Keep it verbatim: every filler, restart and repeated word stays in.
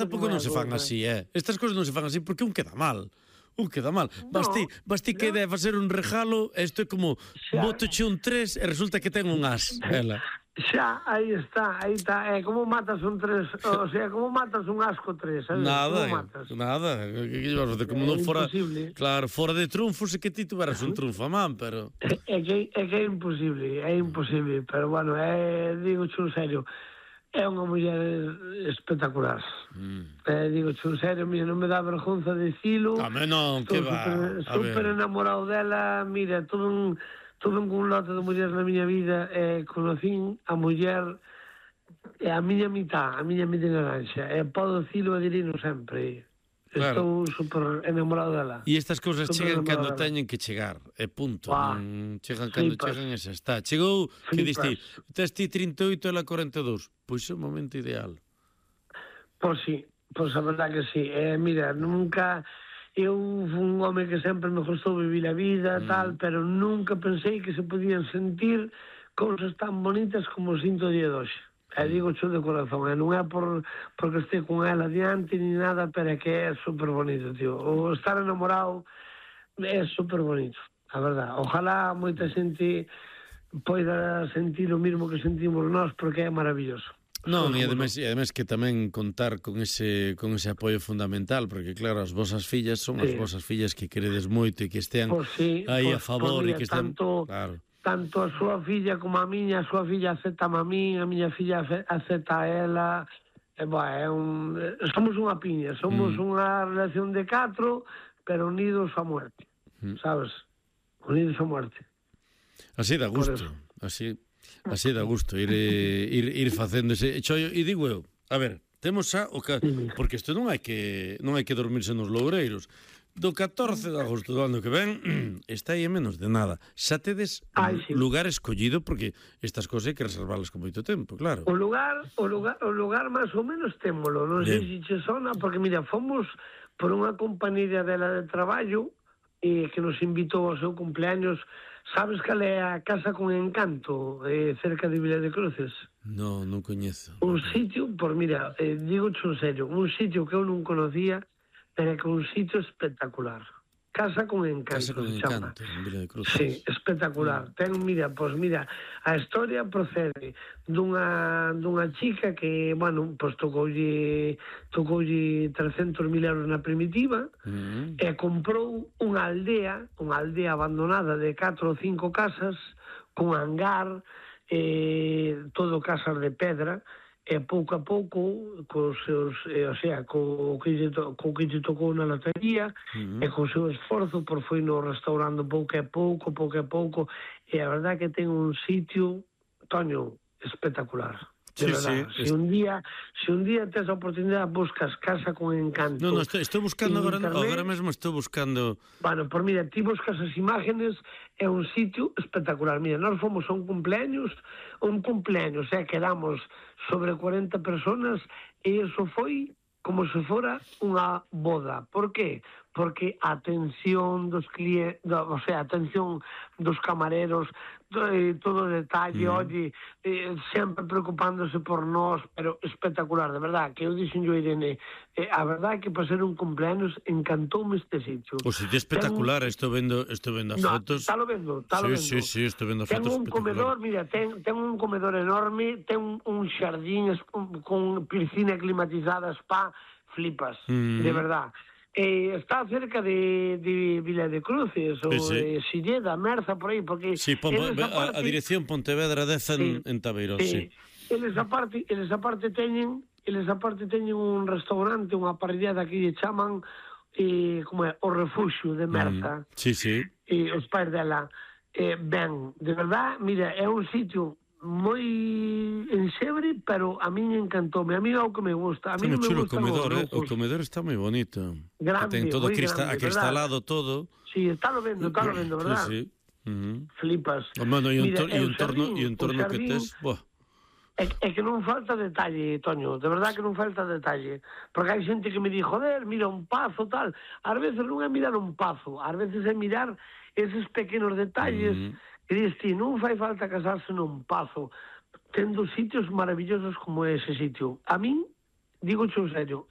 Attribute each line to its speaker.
Speaker 1: tampouco non se fan así, eh? Estas cousas non se fan así porque un queda mal. Un queda mal. Basti, basti que debe facer un regalo, isto é como botoche un tres e resulta que ten un as, ela.
Speaker 2: Xa, aí está, aí está. É como matas un tres, o sea, como matas un asco tres, sabes?
Speaker 1: Nada,
Speaker 2: como matas?
Speaker 1: nada. Que que vas facer? Como non fora... Claro, fora de triunfos e que ti tuveras un triunfo a man, pero...
Speaker 2: É que, é que é imposible, é imposible, pero bueno, é, digo en serio, é unha muller espectacular. Mm. Eh, digo en serio, mira, non me dá vergonza dicilo.
Speaker 1: A mí non, que va.
Speaker 2: Super enamorado dela, mira, todo un... Tuve un lote de mulleres na miña vida e conocín a muller e a miña mitad, a miña mitad naranxa. E podo dicilo e dirino sempre. Estou super enamorado dela.
Speaker 1: E estas cousas chegan cando teñen que chegar, e punto. Chegan cando chegan e xa está. Chegou, que diste, tes ti trinta e oito e ela corenta e dous. Pois é o momento ideal.
Speaker 2: Pois sí, pois a verdade que sí. Eh, mira, nunca... Eu fui un home que sempre me gustou vivir a vida, mm. tal, pero nunca pensei que se podían sentir cousas tan bonitas como sinto o día de hoxe. E digo xo de corazón, e non é por porque este con ela adiante ni nada, pero é que é super bonito, tío. O estar enamorado é super bonito, a verdad. Ojalá moita xente poida sentir o mismo que sentimos nós, porque é maravilloso.
Speaker 1: Non, e ademais, e ademais que tamén contar con ese con ese apoio fundamental, porque claro, as vosas fillas son as sí. vosas fillas que queredes moito e que estean
Speaker 2: pues sí,
Speaker 1: aí
Speaker 2: pues,
Speaker 1: a favor
Speaker 2: pues
Speaker 1: e
Speaker 2: mira,
Speaker 1: que estén...
Speaker 2: Tanto, claro. tanto a súa filla como a miña, a súa filla acepta a min, a miña filla acepta a ela, e, boa, é un, somos unha piña, somos mm. unha relación de catro, pero unidos a muerte, mm. sabes? Unidos a muerte.
Speaker 1: Así dá gusto, así... Así dá gusto ir ir ir facendo ese chollo. E digo eu, a ver, temos xa o ca... porque isto non hai que non hai que dormirse nos loureiros. Do catorce de agosto do ano que ven está aí en menos de nada. Xa tedes Ay, sí. lugar escollido, porque estas cousas hai que reservarlas con moito tempo, claro.
Speaker 2: O lugar, o lugar, o lugar máis ou menos témolo, non sei se che sona, porque mira, fomos por unha compañía dela de traballo e que nos invitou ao seu cumpleaños. Sabes cal é a Casa con Encanto, eh, cerca de Vila de Cruces?
Speaker 1: No, non coñezo.
Speaker 2: Un sitio, por mira, eh, digo en serio, un sitio que eu non conocía, pero que un sitio espectacular. Casa con Encanto.
Speaker 1: Casa con Encanto, en Vila de Cruces.
Speaker 2: Sí, espectacular. Mm. Ten, mira, pois mira, a historia procede dunha dunha chica que, bueno, pois tocoulle tocoulle trescentos mil euros na primitiva mm. e comprou unha aldea, unha aldea abandonada de catro ou cinco casas, con hangar, eh, todo casas de pedra, e pouco a pouco cos seus, eh, o sea, co que lle to, co que lle tocou na lotería uh-huh. e co seu esforzo por foi no restaurando pouco a pouco, pouco a pouco, e a verdade que ten un sitio, Toño, espectacular. De sí, verdad, sí, se un día se un día tes a oportunidade buscas Casa con Encanto.
Speaker 1: No, no, estou, estou buscando agora, agora mesmo estou buscando.
Speaker 2: Bueno, por mira, ti buscas as imágenes, é un sitio espectacular. Mira, nós fomos a un cumpleaños, un cumpleaños, eh, quedamos sobre cuarenta personas e iso foi como se fora unha boda. Por qué? Porque a atención dos clientes, o sea, a atención dos camareros, eh, todo o detalle, mm. oye, eh, sempre preocupándose por nós, pero espectacular, de verdad, que eu dixen yo, Irene, eh, a verdad que para ser un cumpleaños encantoume este sitio.
Speaker 1: O sitio espectacular, ten... estou vendo, estou vendo as
Speaker 2: no,
Speaker 1: fotos.
Speaker 2: Está lo vendo, está
Speaker 1: sí,
Speaker 2: lo vendo.
Speaker 1: Sí, sí, estou vendo as
Speaker 2: ten
Speaker 1: fotos.
Speaker 2: Ten un comedor, mira, ten, ten un comedor enorme, ten un, un xardín con, con piscina climatizada, spa, flipas, mm. de verdad. Eh, está cerca de, de Vila de Cruces ou sí, sí. de Silleda, Merza, por aí, porque...
Speaker 1: Sí, pon, a, a dirección Pontevedra dez en, sí, en Tabeirón, sí.
Speaker 2: sí. Eles aparte, eles aparte teñen, eles aparte teñen un restaurante, unha parrillada que lle chaman eh, como é, o Refuxio de Merza.
Speaker 1: Mm. Sí, sí.
Speaker 2: E os pais dela. Eh, ben, de verdad, mira, é un sitio moi enxebre, pero a min encantoume. A mí é o que me gusta. A mí
Speaker 1: non me
Speaker 2: gusta
Speaker 1: o comedor, eh? O comedor está moi bonito.
Speaker 2: Grande,
Speaker 1: ten todo
Speaker 2: crista
Speaker 1: grande, acristalado, ¿verdad? Todo.
Speaker 2: Sí, está lo vendo, está lo vendo, verdad?
Speaker 1: Sí, sí. Uh-huh.
Speaker 2: Flipas.
Speaker 1: Oh, mano, e un, Mira, un torno, e un torno que tes... Buah.
Speaker 2: É, é que non falta detalle, Toño, de verdad que non falta detalle. Porque hai xente que me di, joder, mira, un pazo, tal. Ás veces non é mirar un pazo, ás veces é mirar eses pequenos detalles uh-huh. que dis ti, non fai falta casarse nun pazo, tendo sitios maravillosos como ese sitio. A min, digo xo en serio,